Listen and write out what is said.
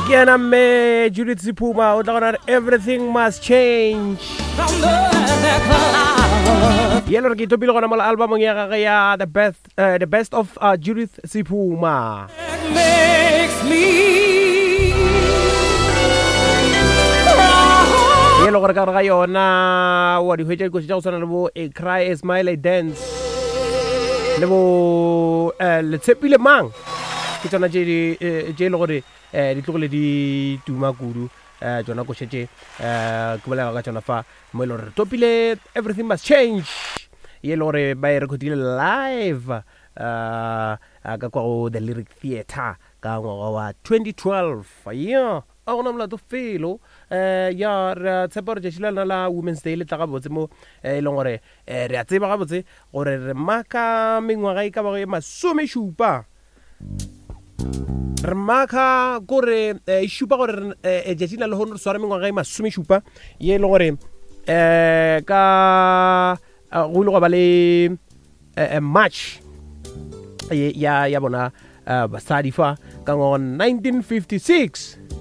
Ke yena mme Judith Sephuma o tla gona re everything must change. Ye le gore ke itopile gona mola albumong ya gage ya the best, uh, the best of uh, Judith Sephuma. Ye le gore ka gare ga yona wa di hwetša dikoši tša go tshwana le bo a cry a smile a dance le bo uh, letshepile mang ke tsona tše di eh, tše e le gore um di tlogile di tuma kudu um tsona koše tše um ke bolela ka tsona fa mo e le gore re topile everything must change ye e le gore ba e recordile live um ka kwa go the lyric theatre ka ngwaga wa 2012 ya a gona molato felo um ya re a tshepa gore tšatši la lena la women's day le tla gabotse mo e leng gore um re a tseba gabotse gore re maka mengwaga e ka bago e masomešupa re maka kore eh, e šupa gore eh, eh, tšatši la lehono re swara mengwaga e masomešupa ye e le gore um ka go ile gwa ba le march ya ya bona basadi fa ka ngwaga 1956.